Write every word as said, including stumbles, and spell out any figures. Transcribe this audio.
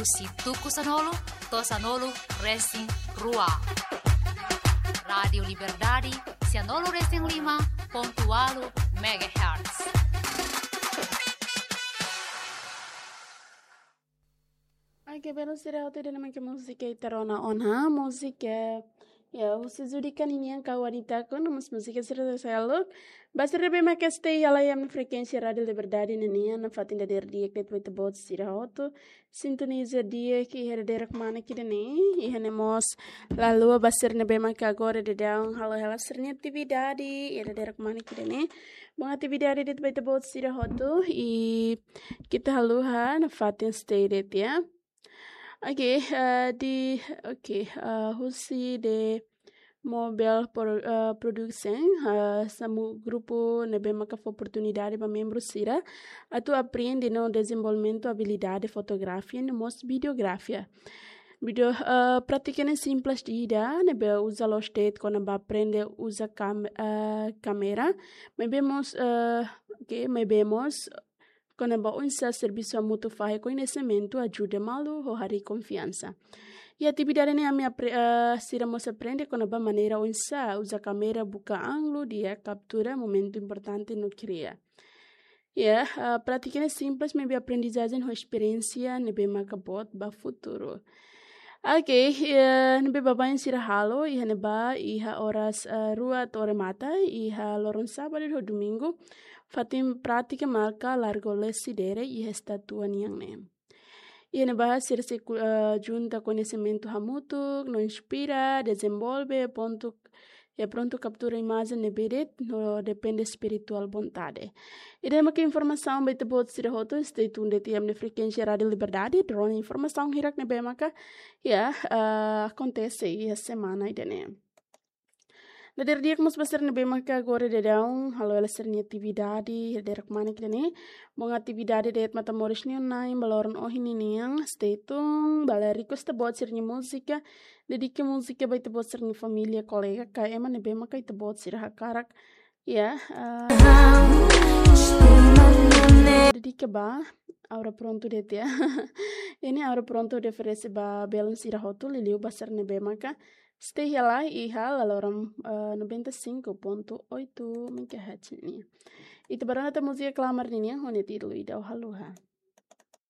Husi tuku sanulu to'o sanulu resin rua. Rádiu Liberdade, sanulu resin lima pontu ualu megahertz. Oke, belun sira hotu, ida-ne'e mak múzika ita rona ona, múzika, ya, husi Judika ninian ka Wanita ku, no mós múzika sira seluk. Ba sira ne'ebé mak stay iha laiha ami-nia frekuénsia Rádiu Liberdade ninian, nafatin dadeer di'ak de'it ba ita-boot sira hotu. Sintoniza di'ak iha dadeer kmanek ida-ne'e, iha ne'e mós la haluha ba sira ne'ebé mak agora daudaun halo hela sira-nia atividade iha dadeer kmanek ida-ne'e. Bom atividade de'it ba ita-boot sira hotu, i keta haluha nafatin stay de'it, ya. Oke, eh, di, oke, eh, husi de Mobile Pro-, eh, Production, eh, hanesan grupu ne'ebé maka fó oportunidade ba membru sira atu aprende no dezenvolvimentu abilidade fotografia no mós videografia. Vídeo, eh, prátika ne'e simples ida, ne'ebé uza loos de'it kona-ba aprende uza kam-, eh, kámera. Maibé mós, eh, oke, maibé mós kona-ba oinsá servisu hamutuk fahe koñesimentu, ajuda malu, ho harii konfiansa. Iha atividade ne'e ami apre-, eh, sira mós aprende kona-ba maneira oinsá uza kámera buka ángulu di'ak, kaptura momentu importante no kria. Ya, eh, prátika ne'e simples, maibé aprendizajen ho esperiénsia ne'ebé maka boot ba futuru. Oke, eh, ne'ebé baibain sira halo iha ne'ebá, iha oras, eh, rua to'o remata, iha loron sábadu ho domingu, fatin prátika maka larga lesi dere iha estátua nian ne'e. Iha ne'ebá sira sei ku-, eh, junta koñesimentu hamutuk, no inspira, dezenvolve, prontu, ya, prontu kaptura imajen ne'ebé de'it, no depende espirituál vontade. Ida-ne'e maka informasaun ba ita-boot sira hotu, stay tuned de'it iha ami-nia frekuénsia Rádiu Liberdade, durante informasaun hirak ne'ebé maka, ya, eh, akontese iha semana ida-ne'e. Dadeer di'ak mós ba sira ne'ebé maka agora daudaun halo hela sira-nia atividade iha dadeer kmanek ida-ne'e. Bom atividade de'it Matamoros nian na'in ba loron ohin ninian, stay tuned, bele request ita-boot sira-nia múzika, dedika múzika ba ita-boot sira-nia família, kolega, ka ema ne'ebé maka ita-boot sira hakarak, ya, eh, dedika ba, agora prontu de'it, ya. Ne'e agora prontu oferese ba belun sira hotu, liuliu ba sira ne'ebé maka stay hela iha laloran, eh, noventa e cinco ponto oito megahertz nian. Ita bá rona tan múzika klamar ninian ho nia títulu Ida Ó Haluha.